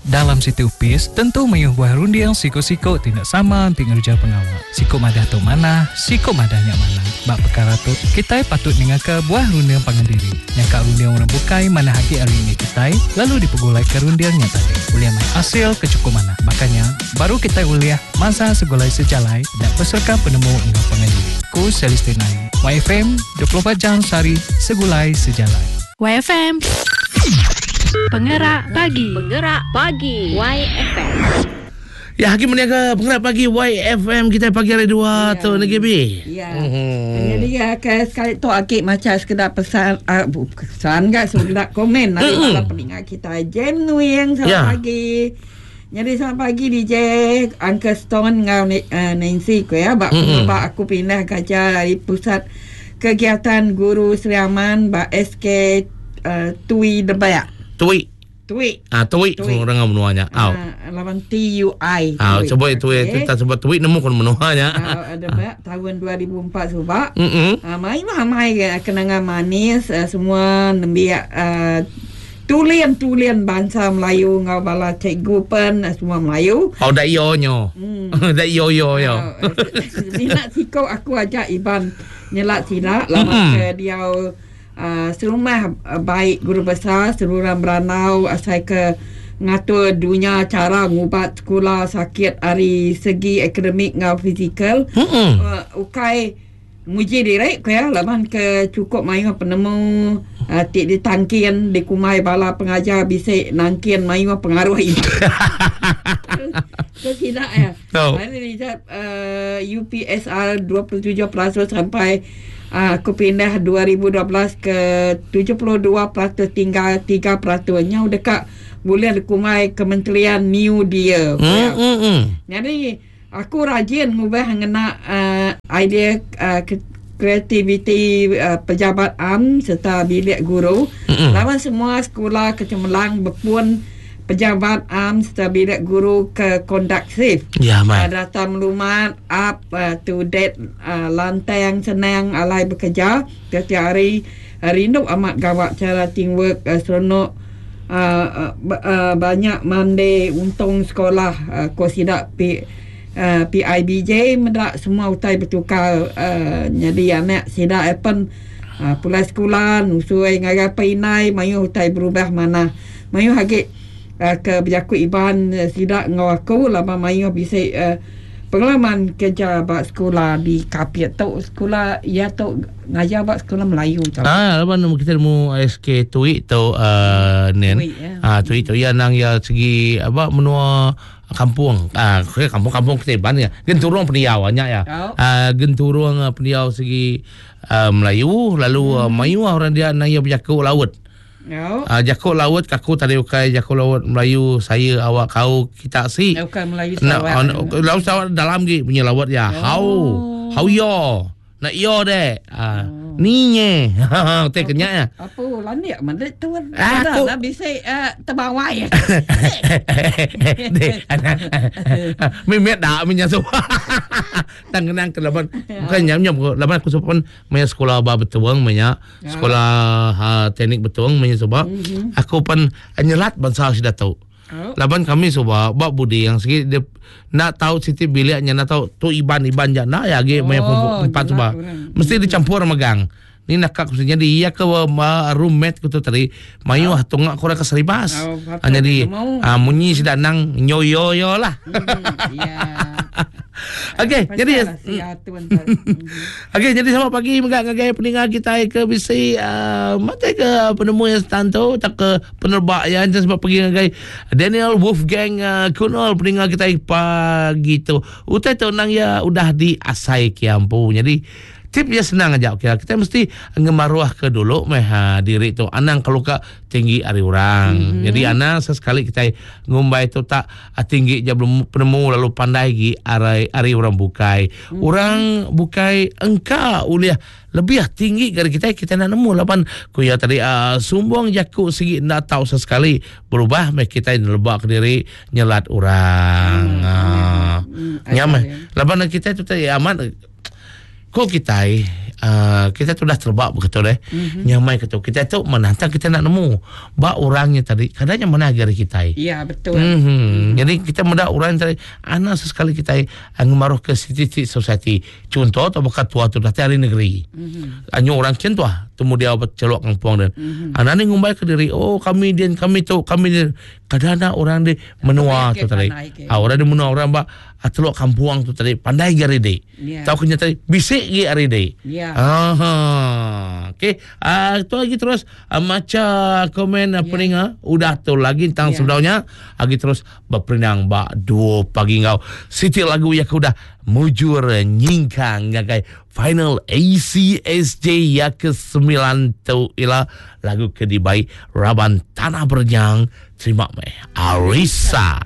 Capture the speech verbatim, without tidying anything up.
Dalam siti upis, tentu mayuh buah runding siko-siko tindak sama ti ngerja pengawa. Siko madah tu mana, siko madah nya mana. Bak perkara tu, kita patut ningaka buah runding pangan diri. Nyangka runding orang bukai mana hagi hari ini kita, lalu dipegulai ke rundingnya tadi. Uliah mai hasil ke cukup mana. Makanya, baru kita uliah masa segulai sejalai dan peserta penemu enggau pangan diri. Ku Celestina. Y F M, dua puluh empat jam sehari, segulai sejalai. Y F M. Penggerak Pagi. Penggerak Pagi Y F M. Ya, hakim meniaga Penggerak Pagi Y F M kita pagi hari dua ya. Tu N G B. Ya. Mm-hmm. Jadi ya ke sekali tu akik macam sekedar pesan uh, pesan enggak sekedar komen dari mm-hmm. bala pendengar kita. Jem Nuing selamat ya. Pagi. Jadi selamat pagi D J Uncle Stone ngau uh, Nancy ku ya. Bak mm-hmm. aku pindah kerja dari pusat kegiatan guru Sri Aman ba S K uh, Tui Debayak. Tui. Tui. Ah, tui orang menuanya. Au. Lawan T U I. Ah, cuba itu ya kita sebut tui nemu kon menuanya. Ah, ada bak tahun dua ribu empat subak. Heeh. Ah, mai mah mai kenangan manis semua nembiak tulian-tulian bangsa Melayu ngau bala cikgu pen semua Melayu. Oh, dak yo nyo. Dak yo yo yo. Minat siko aku ajak Iban nyelak silak lama ke dia Uh, serumah uh, baik guru besar seluruh beranau asal ke ngatur dunia cara ngubat sekolah sakit ari segi akademik ngau fizikal. Mm-hmm. Uh, ukai nguji direk ko ya laban ke cukup mayu penemu uh, tik ditangkin dikumai bala pengajar bisik nangkin mayu pengaruh itu. Ke tidak ya. No. Hari result uh, U P S R dua puluh tujuh peratus sampai uh, aku pindah dua ribu dua belas ke tujuh puluh dua peratus tinggal tiga peratus nya dekat boleh dikumai Kementerian New Deal. Mm, mm, mm. Jadi aku rajin ngubah ngena uh, idea uh, kreativiti uh, pejabat A M serta bilik guru. Mm-mm. Lawan semua sekolah kecemerlang berpun pejabat A M serta bilik guru ke konduktif. Ya, mai. Uh, data melumat up uh, to date uh, lantai yang senang alai bekerja tiap-tiap hari. Uh, rindu amat gawak cara teamwork uh, seronok uh, uh, uh, banyak mandi untung sekolah uh, ko sidak P, uh, P I B J mendak semua utai bertukar uh, jadi anak sidak apen uh, pulai sekolah nusui ngagai peinai mayu utai berubah mana mayu hagi Uh, ke berjakut Iban uh, sidak ngau aku lama mayu bisa uh, pengalaman kerja bak sekolah di Kapit tu sekolah ya tu ngajar bak sekolah Melayu tu. Ah, lepas nu kita mu S K Tui tu uh, nen. Ya. Ah, Tui tu ya nang ya segi apa menua kampung. Ah, kampung-kampung kita Iban ya. Genturung pendiau banyak ya. Oh. Ah, genturung pendiau segi uh, Melayu lalu hmm. uh, mayu orang dia nang ya berjakut laut. No. Uh, jakut laut kaku tadi ukai jakut laut Melayu saya awak kau kita si. Bukan Melayu Sarawak. Nah, laut Sarawak dalam gi punya laut ya. Oh. Hau. Hau yo. Nak yo deh. Ah, uh, ni nye. Teh kenyak ya. Apa landik mana tu? Aku dah bisa uh, terbawai ya. Deh. Mimet dak minya so. Tang kenang ke laban bukan nyam-nyam laban aku sopan maya sekolah ba betuang maya sekolah ha, teknik betuang maya soba. Mm-hmm. Aku pan nyelat bangsa sudah tahu. Oh. Laban kami soba bab budi yang segi dia nak tahu siti biliknya nak tahu tu iban-iban jak nak ya ge maya Oh, empat soba. Mesti dicampur megang. Ni nak kak jadi iya ke ma, roommate ku tu tadi mayu ah tungak kurang ke seribas. Oh, Ah, jadi ah, munyi sidak nang nyoyo yo lah. Hmm, ya. Okey, jadi Okey, jadi selamat pagi megak ngagai pendengar kita ke bisi uh, mata ke penemu yang stanto tak ke penerbak yang sebab pergi ngagai Daniel Wolfgang uh, Kunol pendengar kita pagi tu. Utai tu nang ya udah di asai kiampu. Jadi tip dia senang aja okey. Kita mesti ngemaruah ke dulu meh ha, diri tu anang kalau ka tinggi ari orang. Mm-hmm. Jadi anang sesekali kita ngumbai tu tak tinggi je belum penemu lalu pandai gi ari ari orang bukai. Mm-hmm. Orang bukai engka uliah lebih tinggi dari kita kita nak nemu lapan kuya tadi uh, sumbong jaku segi nak tahu sesekali berubah meh kita lebak ke diri nyelat orang. Mm-hmm. Uh, Mm-hmm. Nyamai. Lapan kita tu tadi amat ko kita uh, kita tu dah terbak begitu deh. Mm-hmm. Nyamai ketu. Kita tu menantang kita nak nemu ba orangnya tadi kadangnya mana agari kita. Ya, betul. Mm-hmm. Mm-hmm. Jadi kita muda orang tadi anak sesekali kita uh, ngemaruh ke city society. Contoh atau bukan tua tu datang dari negeri. Mm-hmm. Anyo orang kin tua temu dia celok kampung dan. Mm-hmm. Anak ni ngumbai ke diri, oh kami dia kami tu kami dia. Kadang orang di menua tu tadi. Ah orang di menua orang ba teluk kampung tu tadi pandai gari dei. Yeah. Tahu kenya tadi bisik gi ari dei. Yeah. Aha. Okey, ah tu lagi terus uh, maca komen uh, yeah. peninga udah tu lagi tentang yeah. sebenarnya lagi terus berperinang ba dua pagi ngau. Siti lagu yang udah mujur nyingkang ngagai final A C S J ya ke sembilan tu ila lagu kedibai Raban Tanah Bernyang. Terima meh Arisa.